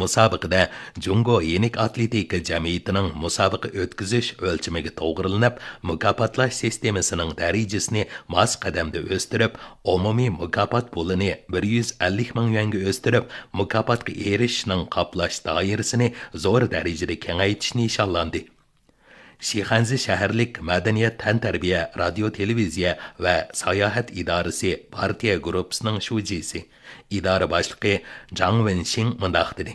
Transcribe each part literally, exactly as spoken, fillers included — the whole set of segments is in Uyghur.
مۇسابىقىدە جۇڭگو يېنىك ئاتلېتىكا جەمئىيىتىنىڭ مۇسابىقە ئۆتكۈزۈش ئۆلچىمىگە توغرىلىنىپ، مۇكاپاتلاش سىستېمىسىنىڭ دەرىجىسىنى ماس قەدەمدە ئۆستۈرۈپ، ئومۇمىي مۇكاپات پۇلىنى بىر يۈز ئەللىك مىڭ يۈەنگە ئۆستۈرۈپ، مۇكاپاتقا ئېرىشىشنىڭ قاپلاش دائىرىسىنى زور دەرىجىدە كېڭەيتىش نىشانلاندى. شىخەنزە شەھەرلىك مەدەنىيەت، تەنتەربىيە، رادىيو، تېلېۋىزىيە ۋە ساياھەت ئىدارىسى پارتىيە گۇرۇپپىسىنىڭ شۇجىسى، ئىدارە باشلىقى جاڭ ۋېنشىڭ مۇنداق دېدى: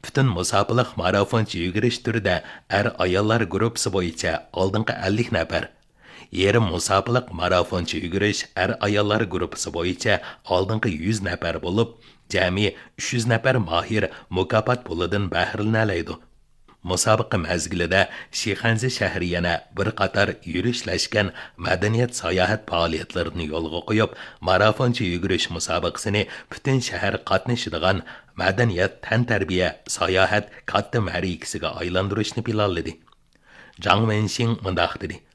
پۈتۈن مۇساپىلىق مارافونچە يۈگۈرۈش تۈرىدە ئەر-ئاياللار گۇرۇپپىسى بويىچە ئالدىنقى ئەللىك نەپەر، يېرىم مۇساپىلىق مارافونچە يۈگۈرۈش ئەر-ئاياللار گۇرۇپپىسى بويىچە ئالدىنقى يۈز نەپەر بولۇپ، جەمئىي ئۈچ يۈز نەپەر ماھىر مۇكاپات پۇلىدىن بەھرىلىنەلەيدۇ. مۇسابىقە مەزگىلىدە شىخەنزە شەھىرى يەنە بىر قاتار يۈرۈشلەشكەن مەدەنىيەت ساياھەت پائالىيەتلىرىنى يولغا قويۇپ، مارافونچە يۈگۈرۈش مۇسابىقىسىنى پۈتۈن شەھەر قاتنىشىدىغان مەدەنىيەت، تەنتەربىيە، ساياھەت كاتتا مەرىكىسىگە ئايلاندۇرۇشنى پىلانلىدى. جاڭ ۋېنشىڭ مۇنداق دېدى: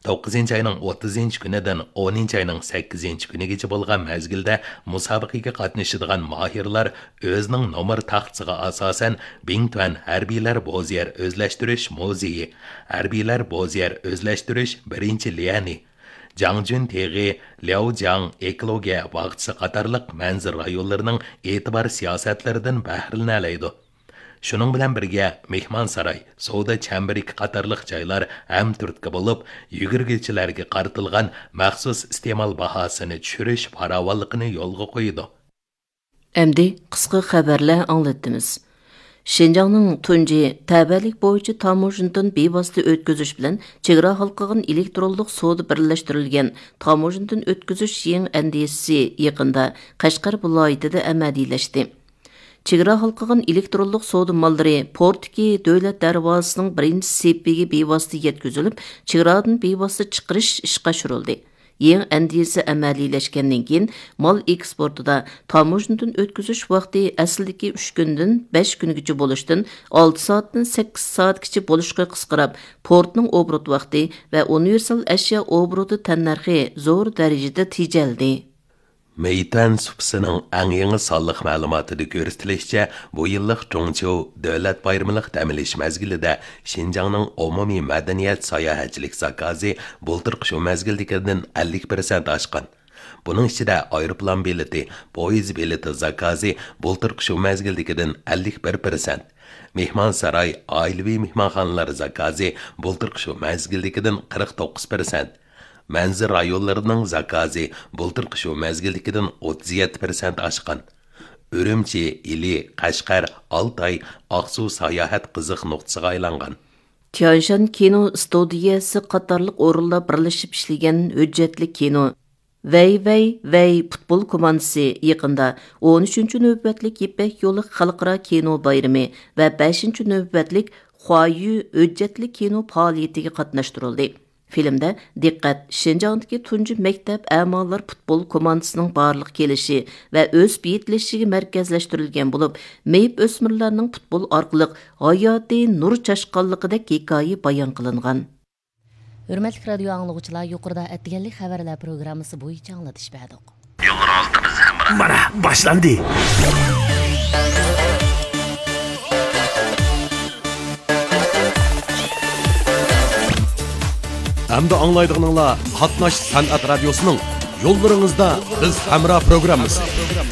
توققۇزىنچى ئاينىڭ ئوتتۇزىنچى كۈنىدىن ئونىنچى ئاينىڭ سەككىزىنچى كۈنىگىچە بولغان مەزگىلدە مۇسابىقىگە قاتنىشىدىغان ماھىرلار ئۆزىنىڭ نومۇر تاختىسىغا ئاساسەن، بىڭتۈەن ھەربىيلەر بوزيەر ئۆزلەشتۈرۈش مۇزېيى، ھەربىيلەر بوزيەر ئۆزلەشتۈرۈش بىرىنچى ليەنى، جاڭجۈن تېغى، لياۋجياڭ ئېكولوگىيە باغچىسى قاتارلىق مەنزىرە رايونلىرىنىڭ ئېتىبار سىياسەتلىرىدىن بەھرىلىنەلەيدۇ. شۇنىڭ بىلەن بىرگە، مېھمانساراي، سودا چەمبىرىكى قاتارلىق جايلار ھەمتۈرتكە بولۇپ، يۈگۈرگۈچىلەرگە قارىتىلغان مەخسۇس ئىستېمال باھاسىنى چۈشۈرۈش پاراۋانلىقىنى يولغا قويىدۇ. ئەمدى قىسقا خەۋەرلەر ئاڭلىتىمىز. شىنجاڭنىڭ تۇنجى تەۋەلىك بويىچە تاموژنىدىن بىۋاسىتە ئۆتكۈزۈش بىلەن چېگرا ھالقىغان ئېلېكترونلۇق سودا بىرلەشتۈرۈلگەن تاموژنىدىن ئۆتكۈزۈش يېڭى ئەندىزىسى يېقىندا قەشقەر ۋىلايىتىدە ئەمەلىيلەشتى. چېگرا ھالقىغان ئېلېكترونلۇق سودا ماللىرى پورتتىكى دۆلەت دەرۋازىسىنىڭ بىرىنچى سېپىگە بىۋاسىتە يەتكۈزۈلۈپ، چېگرادىن بىۋاسىتە چىقىرىش ئىشقا ئاشۇرۇلدى. يېڭى ئەندىزە ئەمەلىيلەشكەندىن كېيىن، مال ئېكسپورتىدا تاموژنىدىن ئۆتكۈزۈش ۋاقتى ئەسلىدىكى ئۈچ كۈندىن بەش كۈنگىچە بولۇشتىن، ئالتە سائەتتىن سەككىز سائەتكىچە بولۇشقا قىسقىراپ، پورتنىڭ ئوبوروت ۋاقتى ۋە ئۇنىۋېرسال ئەشيا ئوبوروتى تەننەرخى زور دەرىجىدە تېجەلدى. مېيتۈەن سۇپىسىنىڭ ئەڭ يېڭى سانلىق مەلۇماتىدا كۆرسىتىلىشىچە، بۇ يىللىق جۇڭچيۇ دۆلەت بايرىمىلىق دەم ئېلىش مەزگىلىدە شىنجاڭنىڭ ئومۇمىي مەدەنىيەت ساياھەتچىلىك زاكازى بۇلتۇرقى شۇ مەزگىلدىكىدىن ئەللىك پىرسەنت ئاشقان. بۇنىڭ ئىچىدە ئايروپىلان بېلىتى، پويىز بېلىتى زاكازى بۇلتۇرقى شۇ مەزگىلدىكىدىن ئەللىك بىر پىرسەنت، مېھمانساراي، ئائىلىۋى مېھمانخانىلار زاكازى بۇلتۇرقى شۇ مەزگىلدىكىدىن قىرىق توققۇز پىرسەنت، مەنزىرە رايونلىرىنىڭ زاكازى بۇلتۇرقى شۇ مەزگىلدىكىدىن ئوتتۇز يەتتە پىرسەنت ئاشقان. ئۈرۈمچى، ئىلى، قەشقەر، ئالتاي، ئاقسۇ ساياھەت قىزىق نۇقتىسىغا ئايلانغان. تيانشان كىنو ئىستۇدىيەسى قاتارلىق ئورۇنلار بىرلىشىپ ئىشلىگەن ھۆججەتلىك كىنو ۋەي ۋەي ۋەي پۇتبول كوماندىسى يېقىندا ئون ئۈچىنچى نۆۋەتلىك يىپەك يولى خەلقئارا كىنو بايرىمى ۋە بەشىنچى نۆۋەتلىك خۇايۈ ھۆججەتلىك كىنو پائالىيىتىگە قاتناشتۇرۇلدى. فىلىمدە دىققەت شىنجاڭدىكى تۇنجى مەكتەپ ئەمالار پۇتبول كوماندىسىنىڭ بارلىققا كېلىشى ۋە ئۆسۈپ يېتىلىشىگە مەركەزلەشتۈرۈلگەن بولۇپ، مېيىپ ئۆسمۈرلەرنىڭ پۇتبول ئارقىلىق ھاياتىي نۇر چاچقانلىقىدەك ھېكايە بايان قىلىنغان. ھۆرمەتلىك رادىيو ئاڭلىغۇچىلار، يۇقىرىدا ئەتىگەنلىك خەۋەرلەر پروگراممىسى بويىچە ئاڭلىتىش بەردۇق. يوللىرىڭىزدا بىز ھەمراھ. مانا، باشلاندى. ئەمدى ئاڭلايدىغىنىڭلار قاتناش سەنئەت رادىيوسىنىڭ يوللىرىڭىزدا بىز ھەمراھ پروگراممىسى.